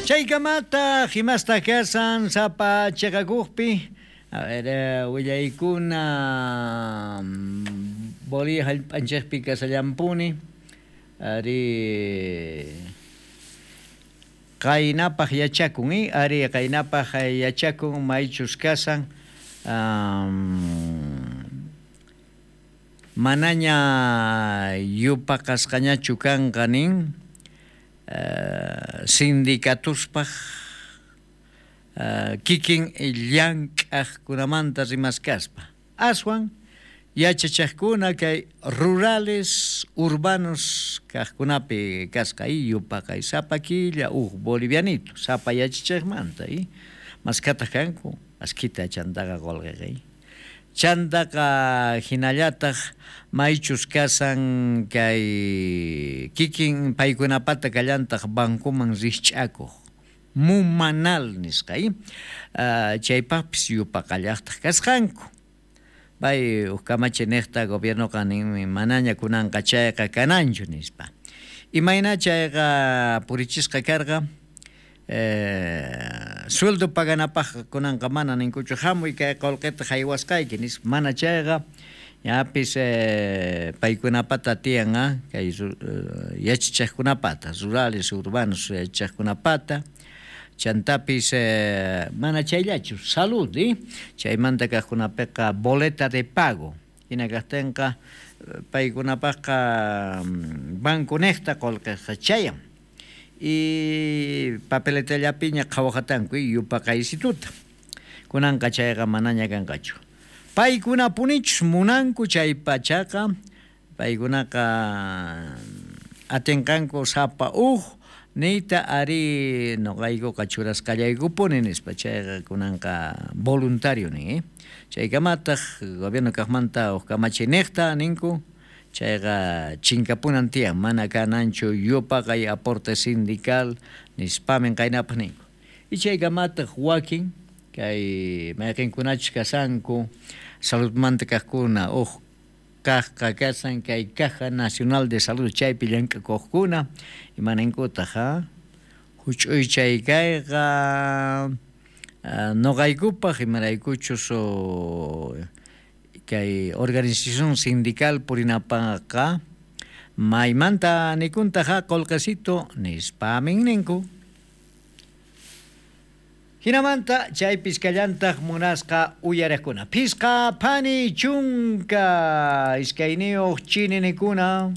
Chaykamataq imastaq kasan sapa chiqakuqpi? A ver, willaykuna Bolivia hallp'anchikpi kasallampuni ari qaynapaq yachakun ari qaynapaq yachakun maychus kasan manaña yupaqasqañachu kanqa nin sindicatuspaq kikin llank'aqkunamanta rimaskaspa aswan yachachaqkuna kay rurales urbanos kaqkunapi kasqa yupaqay sapa killa uj bolivianito sapa yachachiqmanta maskhataq kanku askhita chantaqa qolqeqa chantaqa hinallataq maychus kasan kay kikin paykunapata kallantaq bancoman rikch'akuq mumanal nisqa chaypaqpis yupaqallaqtaq kasqanku pay uj kamachi niqta gobiernoqa ninmi manaña kunanqa chayqa kananchu nispa imayna chayqa purichisqa karqa sueldo paganapaqqa kunanqa mana ninkuchu hamuy kay qolqeta haywasqayki nispa mana chayqa ñapis paykunapata tiyan kay yachachiqkunapata rurales urbanos yachachiqkunapata chantapis mana chayllachu salud chaymanta kaqkunapiqa boleta de pago hina kaqtinqa paykunapaqqa banco niqta qolqeqa chayan y papeletallapiña qhawaqatanku yupaqaysituta kunanqa chayqa manaña kanqachu paykunapunichus munanku chay pachaqa paykunaqa atinqanku sapa uj niyta ari noqaykuqa churasqallaykupuni nispa chayqa kunanqa voluntario nin chaykamataq gobierno kaqmanta uj kamachi niqta ninku chayqa chinkapunan tiyan mana kananchu yupaqay aporte sindical nispamin qaynapaq ninku y chaykamataq wakin kay mayqinkunachus kasanku saludmanta kaqkuna uj kaqqa kasan kay Caja Nacional de Salud chaypi llank'akuqkuna imaninkutaq huch'uy chay kayqa noqaykupaq imaraykuchus kay organización sindical purinapaqqa maymanta nikuntaqa qolqesito nispamin ninku hinamanta chaypis kallantaq munasqa uyariqkuna phisqa phani chunka iskayniyuq chininikuna.